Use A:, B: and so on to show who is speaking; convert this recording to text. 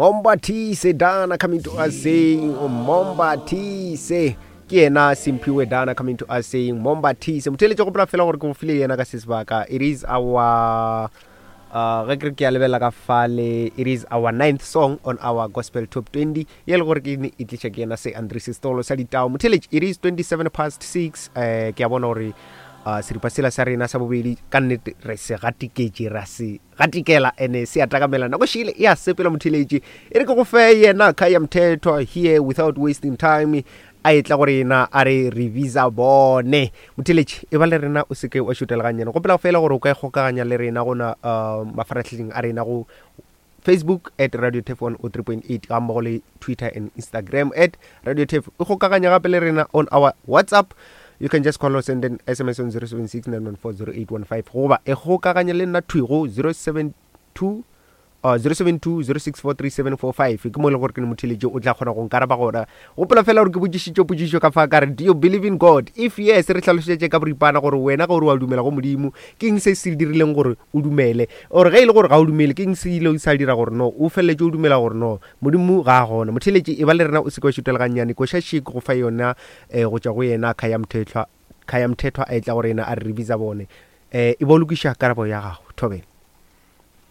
A: Mombatise Dana coming to us saying Mombatise ke yena Simphiwe Dana coming to us saying Mombatise motheletše gopola fela gore ke go file yena ka se sebaka it is our uh, ge ke re ke a lebelela ka fale it is our ninth song on our gospel top 20 ye le gore ke ne e tliša ke yena se Andre Sestolo sa ditao motheletše it is 27 past 6 eh ke a bona gore uh, seripa sela sa rena sa bobedi ka nnete re se gatiketše ra se gatikela ene se a takamela nako šile e a sepela motheletše e re ke go fe yena Khaya Mthethwa here without wasting time a etla go rena a re re visa bone motheletše e ba le rena o seke wa šutela gannyane gopela fela gore o ka ikgokaganya le rena gona uh, mafaratlhahleng a rena go Facebook at Radio Tef 103.8 ga mmogo le Twitter and Instagram at Radio Tef. O kgokaganya gape le rena on our WhatsApp. You can just call us and then SMS on 076 914 0815 goba e kgokaganya le nna thwi go 072 uh, 072 064 3745 ke mo e leng gore ke ne motheletše o tla kgona go nkaraba gona gopola fela gore ke botšišitše potšišo ka fa ka re do you believe in god if yes re hlalošetše ka boripana gore wena ge o re wa dumela go modimo ke eng se se dirileng gore o dumele or ge e le gore ga o dumele ke eng se ile sa dira gore no o feleletše o dumela gore no modimo ga a gona motheletše e ba le rena o se ke wa šutela gannyane koša še ke go fa yona um go tšwa go yena Khaya Mthethwa Khaya Mthethwa a etla go rena a re re bitsa bone um e ba o lokiša karabo ya gago thobela.